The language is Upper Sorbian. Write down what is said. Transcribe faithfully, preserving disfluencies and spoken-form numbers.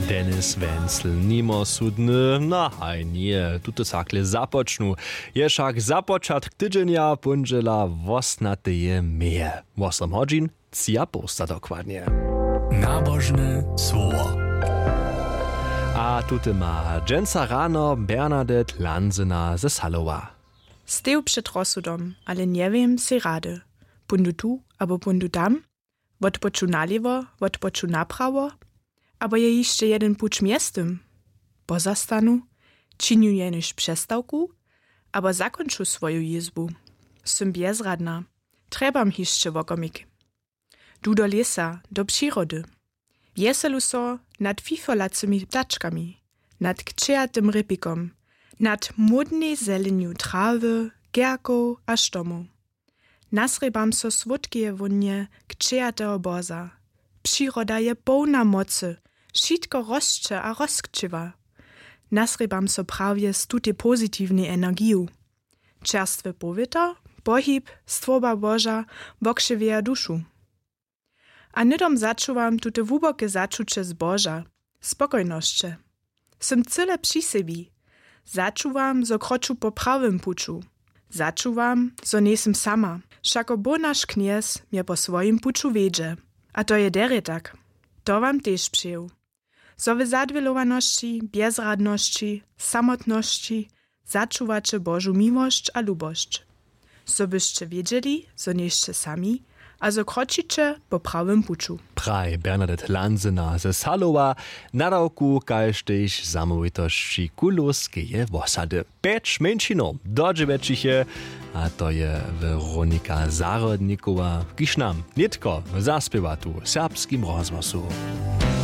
Denis Wenzel, nimo sudny, no haj njeje, tute sakle započnu. Je wšak započatk tydźenja póndźela wosnateje meje. Wosom hodźin, tři a poł sta dokładnje. Nabožne słowo. A tute ma dźensa rano Bernadette Lanzena ze Salowa. Steju před rozsudom, ale njewěm sej rady. Póńdu tu abo póńdu tam? Wotpoču nalěwo, wotpoču naprawo? Abo je hišće jedyn puć mjeztym? Pozastanu, činju jenož přestawku, abo zakónču swoju jězbu? Sym bjezradna. Trjebam hišće wokomik. Du do lěsa, do přirody. Wjeselu so nad fifolacymi ptačkami, nad kćeatym rěpikom, nad módnej zelenju trawy, kerkow a štomow. Nasrěbam so słódkeje wónje kćeateho boza. Přiroda je połna mocy, wšitko rosće a rozkćěwa. Nasrěbam so prawje z tutej pozitiwnej energiju. Čerstwy powětr, pohib, stwórba boža wokřěwjeja dušu. A hnydom začuwam tute hłuboke začuće zboža, spokojnosće. Sym cyle při sebi. Začuwam, zo kroču po prawym puću. Začuwam, zo njejsym sama, wšako bóh naš knjez mje po swojim puću wjedźe. A to je derje tak. To wam tež přeju. Zo w zadwělowanosći, bjezradnosći, samotnosći začuwaće božu miłosć a lubosć, zo byšće wědźeli, zo njejsće sami a zo kročiće po prawym puću. Praj Bernadette Lansena ze Salowa, nadawku kaž tež zamołwitosći kulowskeje wosady. Pjeć mjeńšinow do dźewjećich je, a to je Weronika Zahrodnikowa, kiž nam nětko zaspěwa tu w Serbskim rozhłosu.